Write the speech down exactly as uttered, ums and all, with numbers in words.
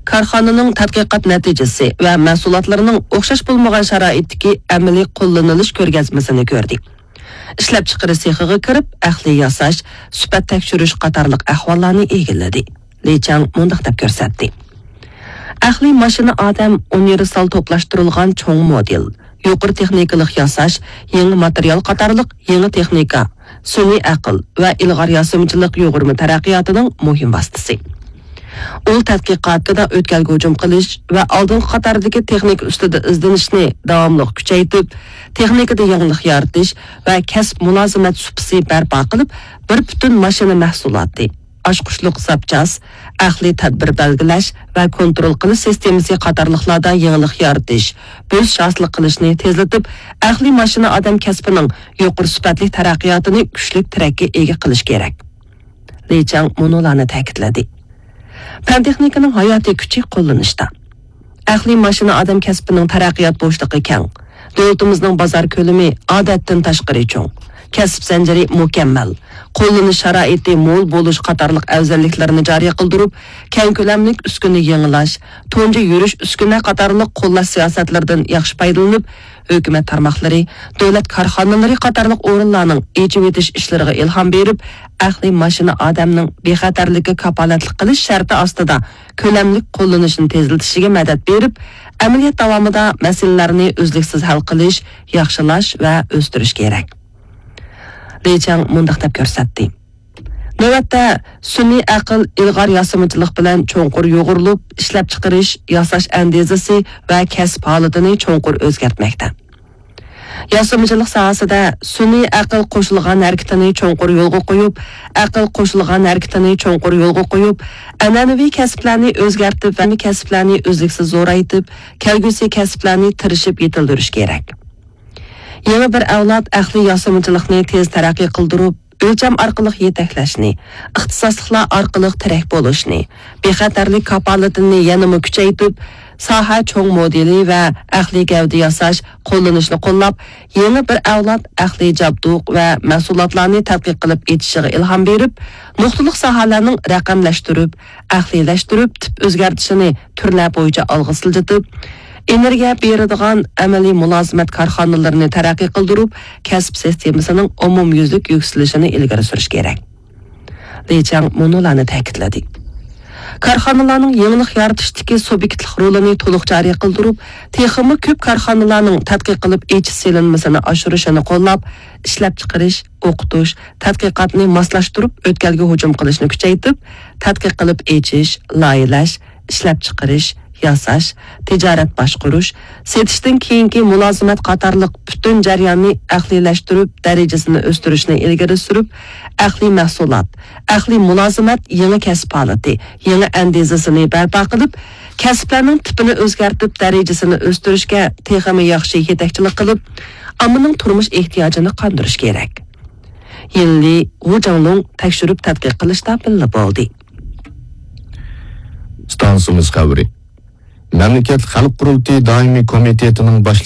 كارخانىنىڭ تەتقىقات نەتىجىسى ۋە مەھسۇلاتلىرىنىڭ ئوخشاش بولمىغان شارائىتتىكى ئەمەلىي قوللىنىلىش كۆرگەزمىسىنى كۆردى. ئىشلەپچىقىرىش سېخىغا كىرىپ، ئەقلىي ياساش، سۈپەت تەكشۈرۈش قاتارلىق ئەھۋاللارنى ئىگىلىدى. لى چاڭ مۇنداق دەپ كۆرسەتتى: ئەقلىي ماشىنا ئادەم ئۇنىۋېرسال توپلاشتۇرۇلغان چوڭ مودېل، يۇقىرى تېخنىكىلىق ياساش، يېڭى ماتېرىيال قاتارلىق يېڭى تېخنىكا، سۈنئىي ئەقىل ۋە ئىلغار ياسىمىچىلىق يۇغۇرما تەرەققىياتىنىڭ مۇھىم ۋاسىتىسى. ئۇل تەتقىقاتىدا ئۆتكەلگە ھۇجۇم قىلىش ۋە ئالدىنقى قاتاردىكى تېخنىكا ئۈستىدە ئىزدىنىشنى داۋاملىق كۈچەيتىپ، تېخنىكىدا يېڭىلىق يارىتىش ۋە كەسىپ مۇلازىمەت سۇپىسى بەرپا قىلىپ، بىر پۈتۈن ماشىنا مەھسۇلاتى، ئاچقۇچلۇق زاپچاس، ئەقلىي تەدبىر بەلگىلەش ۋە كونترول قىلىش سىستېمىسى قاتارلىقلاردا يېڭىلىق يارىتىش، بۆسۈش ھاسىل قىلىشنى تېزلىتىپ، ئەقلىي ماشىنا ئادەم كەسپىنىڭ يۇقىرى سۈپەتلىك تەرەققىياتىنى كۈچلۈك تىرەككە ئىگە قىلىش كېرەك. لى چاڭ مۇنۇلارنى تەكىتلىدى: پەن تېخنىكىنىڭ ھاياتىي كۈچى قوللىنىشتا. ئەقلىي ماشىنا ئادەم كەسپىنىڭ تەرەققىيات بوشلۇقى كەڭ. دۆلىتىمىزنىڭ بازار كۆلىمى ئادەتتىن تاشقىرى چوڭ. كەسىپ زەنجىرى مۇكەممەل. قوللىنىش شارائىتى مول بولۇش قاتارلىق ئەۋزەللىكلەرنى جارى قىلدۇرۇپ، كەڭ كۆلەملىك ئۈسكۈنە يېڭىلاش، تۇنجى يۈرۈش ئۈسكۈنە قاتارلىق قوللاش سىياسەتلىرىدىن ياخشى پايدىلىنىپ، ھۆكۈمەت تارماقلىرى، دۆلەت كارخانىلىرى قاتارلىق ئورۇنلارنىڭ ئېچىۋېتىش ئىشلىرىغا ئىلھام بېرىپ، ئەقلىي ماشىنا ئادەمنىڭ بىخەتەرلىككە كاپالەتلىك قىلىش شەرتى ئاستىدا كۆلەملىك قوللىنىشنى تېزلىتىشىگە مەدەت بېرىپ، ئەمەلىيەت داۋامىدا مەسىلىلەرنى ئۈزلۈكسىز ھەل قىلىش، ياخشىلاش ۋە ئۆستۈرۈش كېرەك. لى چاڭ مۇنداق دەپ كۆرسەتتى: نۆۋەتتە، سۈنئىي ئەقىل ئىلغار ياسىمىچىلىق بىلەن چوڭقۇر يۇغۇرۇلۇپ، ئىشلەپچىقىرىش، ياساش ئەندىزىسى ۋە كەسىپ ھالىتىنى چوڭقۇر ئۆزگەرتمەكتە. ياسىمىچىلىق ساھەسىدە سۈنئىي ئەقىل قوشۇلغان ھەرىكىتىنى چوڭقۇر يولغا قويۇپ، ئەقىل قوشۇلغان ھەرىكىتىنى چوڭقۇر يولغا قويۇپ، ئەنئەنىۋى كەسىپلەرنى ئۆزگەرتىپ ۋە كەسىپلەرنى ئۈزلۈكسىز زورايتىپ، كەلگۈسى كەسىپلەرنى تىرىشىپ يېتىلدۈرۈش كېرەك. يېڭى بىر ئەۋلاد ئەقلىي ياسىمىچىلىقنى تېز تەرەققىي قىلدۇرۇپ، ئۆلچەم ئارقىلىق يېتەكلەشنى، ئىختىساسلىقلار ئارقىلىق تىرەك بولۇشنى، بىخەتەرلىك كاپالىتىنى يەنىمۇ كۈچەيتىپ، ساھە چوڭ مودېلى ۋە ئەقلىي گەۋدە ياساش، قوللىنىشنى قوللاپ، يېڭى بىر ئەۋلاد ئەقلىي جابدۇق ۋە مەھسۇلاتلارنى تەتقىق قىلىپ ئېچىشىغا ئىلھام بېرىپ، نۇقتىلىق ساھەلەرنىڭ رەقەملەشتۈرۈپ، ئەقلىيلەشتۈرۈپ، تىپ ئۆزگەرتىشىنى تۈرلەر بويىچە ئالغا سىلجىتىپ، ئېنېرگىيە بېرىدىغان ئەمەلىي مۇلازىمەت كارخانىلىرىنى تەرەققىي قىلدۇرۇپ، كەسىپ سىستېمىسىنىڭ ئومۇميۈزلۈك يۈكسىلىشىنى ئىلگىرى سۈرۈش كېرەك. لى چاڭ مۇنۇلارنى تەكىتلىدى: كارخانىلارنىڭ يېڭىلىق يارىتىشتىكى سۇبيېكتلىق رولىنى تولۇق جارى قىلدۇرۇپ، تېخىمۇ كۆپ كارخانىلارنىڭ تەتقىق قىلىپ ئېچىش سېلىنمىسىنى ئاشۇرۇشىنى قوللاپ، ئىشلەپچىقىرىش، ئوقۇتۇش، تەتقىقاتنى ماسلاشتۇرۇپ ئۆتكەلگە ھۇجۇم قىلىشنى كۈچەيتىپ، تەتقىق قىلىپ ئېچىش، لايىھەلەش، ئىشلەپچىقىرىش، ياساش، تىجارەت باشقۇرۇش، سېتىشتىن كېيىنكى مۇلازىمەت قاتارلىق پۈتۈن جەرياننى ئەقلىيلەشتۈرۈپ، دەرىجىسىنى ئۆستۈرۈشنى ئىلگىرى سۈرۈپ، ئەقلىي مەھسۇلات، ئەقلىي مۇلازىمەت يېڭى كەسىپ ھالىتى، يېڭى ئەندىزىسىنى بەرپا قىلىپ، كەسىپلەرنىڭ تىپىنى ئۆزگەرتىپ، دەرىجىسىنى ئۆستۈرۈشكە تېخىمۇ ياخشى يېتەكچىلىك قىلىپ، ئاممىنىڭ تۇرمۇش ئېھتىياجىنى قاندۇرۇش كېرەك. يىنلى، ۋۇ جاڭلۇڭ تەكشۈرۈپ تەتقىق قىلىشتا بىللە بولدى. ئىستانسىمىز خەۋىرى. مەملىكەتلىك خەلق قۇرۇلتىيى دائىمىي كومىتېتىنىڭ باش